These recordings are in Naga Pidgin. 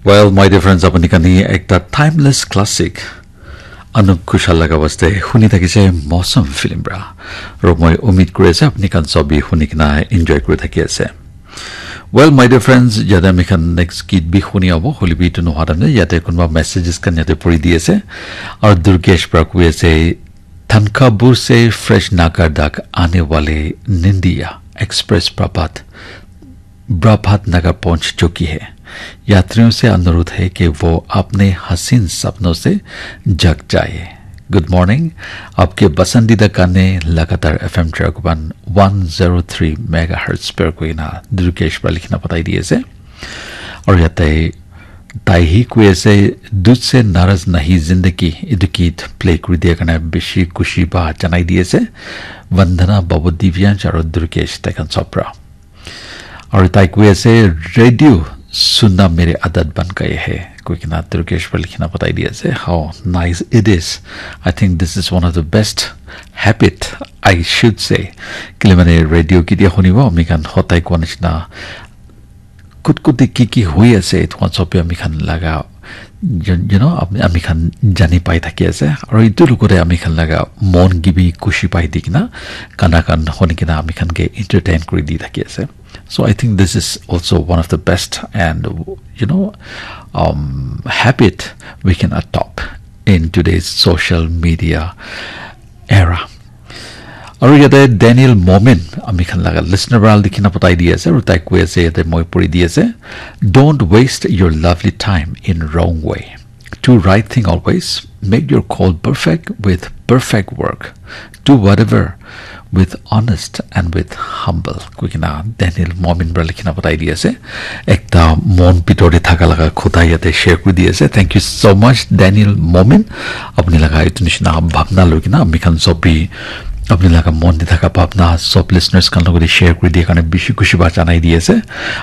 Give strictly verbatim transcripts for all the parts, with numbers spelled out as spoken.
Well, my dear friends, apni khan hi ekta timeless classic Anup Ghoshal laga waste huni thakise Mausam film pra. Aro moi umid kuri ase apni khan sob bi huni kena enjoy kuri thaki ase. Well, my dear friends, yate ami khan next git bi huni abo, hoilebi etu nohwa time te yate kunba messages khan yate puri di ase. Aru Durgesh pra koi ase, "Thankabur se fresh Naga dak aane wale Nindiya Express Prabhat, Prabhat Nagar pahunch chuki hai. Yatriyon se anurudh hai ki wo apne haseen sapnon se jag jaye." Good morning. आपके पसंदीदा गाने लगातार F M Tragoban one zero three megahertz per koina Durgesh pra likhina patai di ase. Aru yate tai hi koi ase, "Tujhse naraz nahi zindagi," etu git play kuri dia karne bishi khushi ba janai di ase. Vandana, Babu, Divyansh aru Durgesh tai khan sob pra. Aru tai koi ase, "Radio sunna mere aadat ban gaye hai," koi kena Durgesh pra likhina patai di ase. How nice it is. I think this is one of the best habit, I should say. Kile mane radio ketia hunibo, ami khan hotai koa nishina kut kut te ki ki hui ase, etu khan sob bi ami khan laga, you you know, ami, ami khan jani pai thaki ase. Aru etu logote ami khan laga mon ke bi khushi pai di kena, gana khan huni kena ami khan ke entertain kuri di thaki ase. So I think this is also one of the best and, you know, um, habit we can adopt in today's social media era. Aru yate Daniel Momin, ami khan laga listener pra likhina patai di ase, aru tai koi ase, yate moi puri di ase, "Don't waste your lovely time in wrong way. Do right thing always. Make your call perfect with perfect work. Do whatever with honest and with humble," koi kena Daniel Momin pra likhina patai di ase. Ekta mon bitor te thaka laga kotha yate share kuri di ase. Thank you so much, Daniel Momin. Apni laga etu nishina bhabna loi kena ami khan sob bi apni laga mon te thaka bhabna sob listeners khan logote share kuri dia karne bishi khushi ba janai di ase.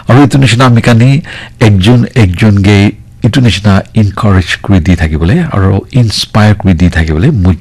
Aru etu nishina ami khan hi ekjon ekjon ke etu nishina encourage kuri di thaki bole aru inspire kuri di thaki bole moi